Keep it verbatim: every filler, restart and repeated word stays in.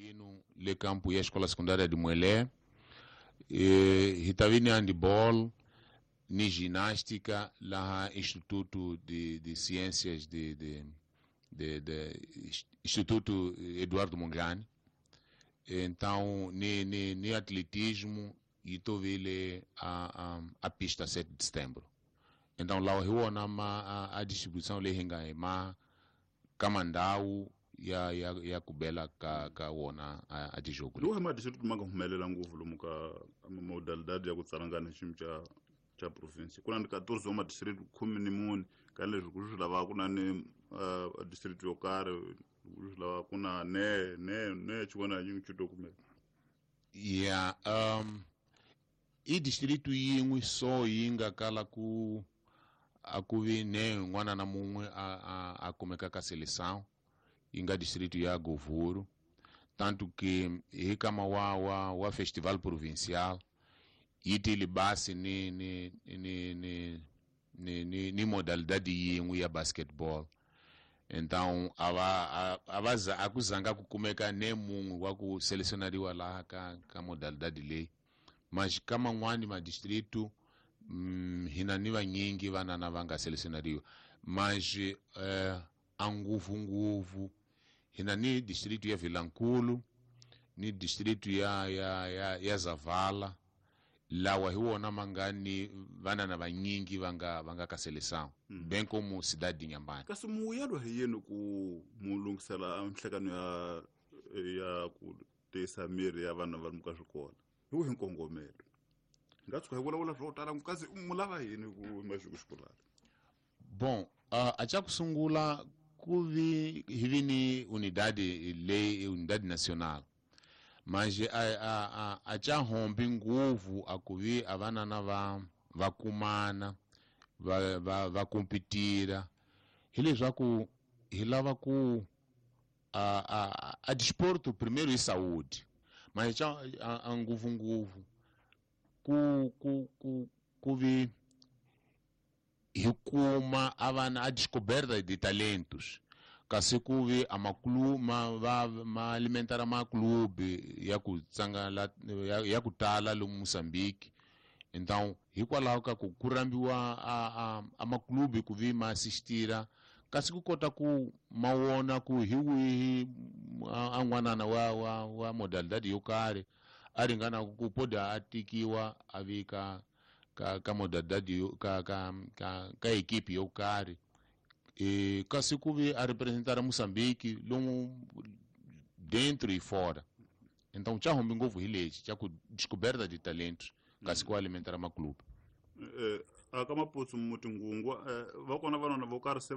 Masculino le campo ya Escola Secundária de Muelé, e, hi ta vi ni handball ni ginástica lá Instituto de, de Ciências de, de, de, de Instituto Eduardo Mondlane. Então ni, ni, ni atletismo e to vile a, a, a pista sete de setembro. Então lá hi wona ma a, a distribuição leyi hi nga hi ma ka mandhawu ya ya ya ku bela ka ka wona a, a tijogo. Lowu ma district ma nga humelela ngopfu lomu ka modalidade ya ku tsalangana xiyimo xa xa province. Ku na ni quatorze wa ma-district khume ni mune ka leswi ku swi lava ku na ni uh, district yo karhi ku swi lava ku na ne ne ne xin'wana na xin'we xi to kumeka. Ya um i distrito yin'we so yi nga kala ku a ku vi ne n'wana na mun'we a, a, a kumeka ka seleção yi nga distrito ya Govuro, tanto que hi kama wa, wa, wa festival provincial yi tile basi ni, ni, ni, ni, ni, ni, ni modalidade yin'we ya basketball. Então a va a, a va za a ku zanga ku kumeka ne mun'we wa ku selecionariwa laha ka, ka modalidade leyi. Mas ka man'wani madistrito mm, hina ni vanyingi vanana va nga selecionariwa, mas eh, a ngopfungopfu hina ni distrito ya Vilankulu ni distrito ya, ya, ya, ya Zavala, lawa hi wona ma nga ni vanana vanyingi va nga va nga ka seleção mm. bem como cidade de Inhambane. Kasi muyelo hi yini ku mu lunghisela nhlekano ya ya ku tiyisa miri ya vana va ka swikolo hi wihi nkongomelo? Hi nga tshuka hi vulavula swo tala kasi mu lava yini ku maxuku xikolana? Bom, uh, a xa ku sungula ku vi hi vi ni unidade leyi unidade nacional, mas a, a, a, a xa hombi ngopfu a ku vi a vanana va va kumana va va va competira, hileswaku hi lava ku a, a, a desporto primeiro i saúde, mas xa a, a ngopfungopfu ku ku ku ku vi hi kuma a vana a descoberta de talentos, kasi ku vi a maklu ma va ma alimentara maklube ya ku tsanga la, ya, ya ku tala lomu Moçambique. Então hikwalaho ka ku ku rambiwa a, a, a maklube ku vi ma assistira, kasi ku kota ku ma wona ku hi wihi a n'wanana wa, wa, wa modalidade yo karhi a ringana ku poda a tikiwa a vi ka ka ka modalidade yo ka ka ka ka equipe yo karhi, e kasi ku vi a representar Moçambique lomu dentro e fora. Então xa humbi ngopfu hi lexi xa ku descoberta de talentos, kasi ku alimentar maclube. Eh, a ka maputsu mutingungwa eh, va kona vanona vo karhi se